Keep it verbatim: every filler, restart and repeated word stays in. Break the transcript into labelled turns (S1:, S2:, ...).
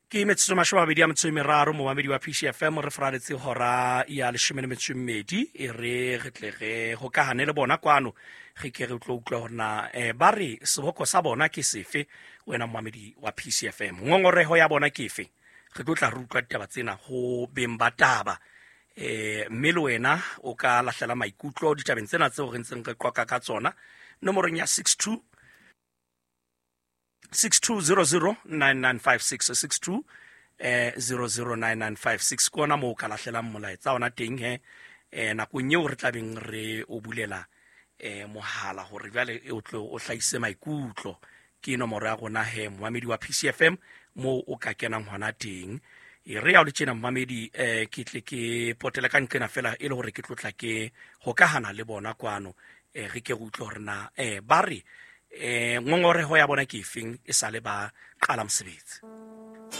S1: Ke metsotso mashome a mabedi a metso e meraro, momamedi wa P C F M, re fraletse hora ya leshome le metso e mmedi, e re re tle re hokahane le bona kwano, re ke re tlo utlwa hore na, eh, ba re seboko sa bona ke sefe, wena momamedi wa P C F M. Ngongoreho ya bona ke efe? Re tlo tla re utlwa ditaba tsena ho beng ba taba. Eh, mme le wena o ka lahlela maikutlo ditabeng tsena tseo re ntseng re qoqa ka tsona nomorong ya six two six two zero zero nine nine five six, six two, eh, zero zero nine nine five six. Ke ona moo o ka lahlelang molaetsa ona teng he. Eh, nakong eo re tla beng re o bulela, eh, mohala hore jwale e o tlo o hlahise maikutlo. Ke nomoro ya rona he, momamedi wa P C F M, moo o ka kenang hona teng. E re ya o le tjena momamedi, eh, ke tle ke potele ka nqena fela e le hore ke tlotla ke hokahana le bona kwano. Eh, re ke re utlwe hore na, eh, ba re, eh, ngongoreho ya bona ke efeng e sale ba qala mosebetsi.